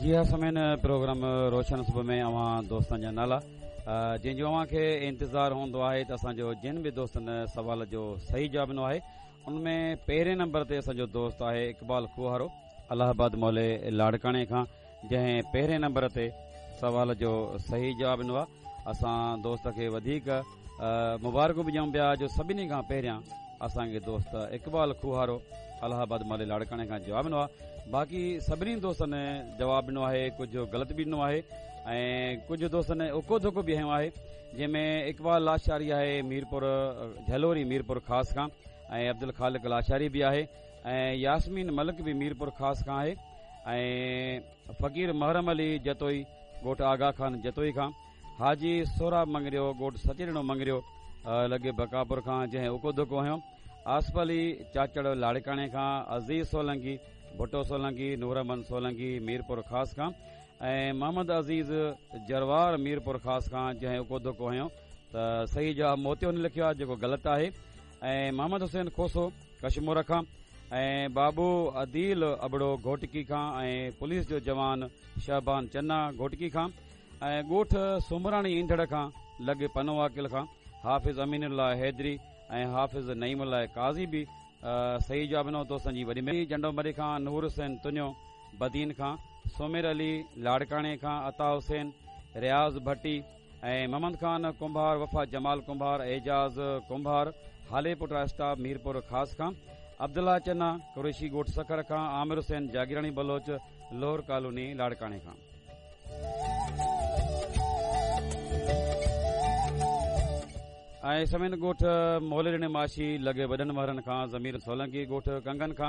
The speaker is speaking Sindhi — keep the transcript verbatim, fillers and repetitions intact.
جي ها سامعين، پروگرام روشن صبح ۾ اوهان دوستن جا نالا، جنهن جو اوهان کي انتظار هوندو آهي ته اسان جو جن به دوستن سوال جو صحيح جواب ڏنو آهي، ان ۾ پهرين نمبر تي اسان جو دوست آهي اقبال کوهارو، الله آباد محلي لاڙڪاڻي کان، جنهن پهرين نمبر تي سوال جو صحيح جواب ڏنو آهي. اسان دوست کي وڌيڪ مبارڪون به ڏيون پيا جو سڀني کان پهريان اسان کي دوست اقبال کوهارو الله آباد محلي لاڙڪاڻي کان جواب ڏنو آهي. باقي سڀني دوستن جواب ڏنو آهي، ڪجهه غلط به ڏنو آهي ۽ ڪجهه دوستن اڪو ڌڪو به هنيو آهي، جنهن ۾ اقبال لاشاري آهي ميرپور جهلوري ميرپور خاص کان، ۽ عبدالخالق لاشاري به آهي، ۽ ياسمين ملڪ به ميرپور خاص کان آهي، ۽ فقير محرم علي جتوئي ڳوٺ آغا خان جتوئي کان، حاجي سهراب مڱريو ڳوٺ سچيڏنو مڱريو لڳي بڪاپور کان، جنهن اڪو ڌڪو هنيو، آصف علي چاچڙ لاڙڪاڻي کان، عزيز سولنگي، ڀٽو سولنگي، نور احمد سولنگي ميرپور خاص کان، ۽ محمد عزيز جروار ميرپور خاص کان، جنهن اڪو ڌڪو هنيو ته صحيح جواب موتيو نه لکيو آهي جيڪو غلط آهي، ۽ محمد حسين کوسو ڪشمور کان، ۽ بابو عديل ابڙو گهوٽڪي کان، ۽ پوليس جو جوان شهبان چنا گهوٽڪي کان، ۽ ڳوٺ سومراڻي ايندڙ کان لڳ پنو عاقل کان حافظ امين الله حيدري ۽ حافظ نعيم الله قاضي به صحيح جواب ڏنو. دوستن جي وڏي مهرباني. جنڊو مري کان نور حسين تنيو، بدين کان سومير علي، لاڙڪاڻي کان عطا حسين، رياض ڀٽي ۽ محمد خان ڪنڀار، وفا جمال ڪنڀار، اعجاز ڪنڀار، هالي پٽ اسٽاپ ميرپور خاص کان، عبدالله چنا قريشي ڳوٺ سکر کان، عامر حسين جاگيراڻي بلوچ لوهر ڪالوني لاڙڪاڻي کان. ۽ سمين ڳوٺ موليڏني ماشي لڳي وڏن مهرن کان ضمير سولنگي ڳوٺ ڪنگن کان.